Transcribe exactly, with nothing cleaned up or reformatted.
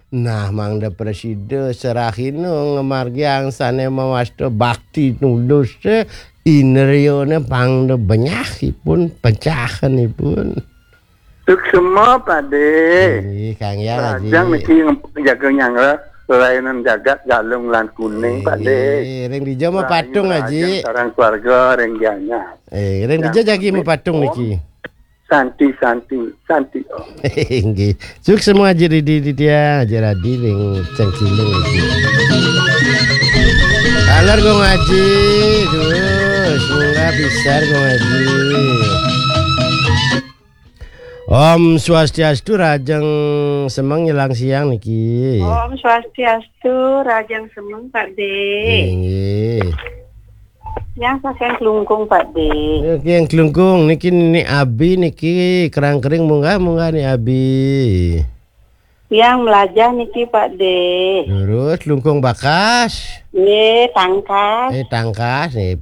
Nah, mangda prasida serahina ngamargiang sane mawasta bakti tulus, indriyane pangda benyahipun, pecahanipun. Suksma, Pak De. Inggih, Kang Hyang Aji. Lajeng niki nge-, jaga nyanggra, lelayanan jagat, galung lan kuning, Pak De. Inggih, ring dija mapatung, Aji. Sareng keluarga ring Gianyar. Eh, ring dija jagi mapatung niki. Santi, santi, santi, Om. Inggih. Suksma Aji Ridi, Didia, Aji Radi ring Cengkilung niki. Alor Gung Aji, duh, semoga bisa Gung Aji. Om Swastiastu, rahajeng semeng ngilang siang niki. Om Swastiastu, rahajeng semeng, Pak De. Inggih. Yang saking Klungkung, Pak De. Oke, yang Klungkung niki, Ni Abi niki, kerang kering munggah, munggah, Ni Abi. Yang melajah niki, Pak De. Terus Klungkung Bakas. Nggih, Tangkas. Eh, Tangkas, nggih.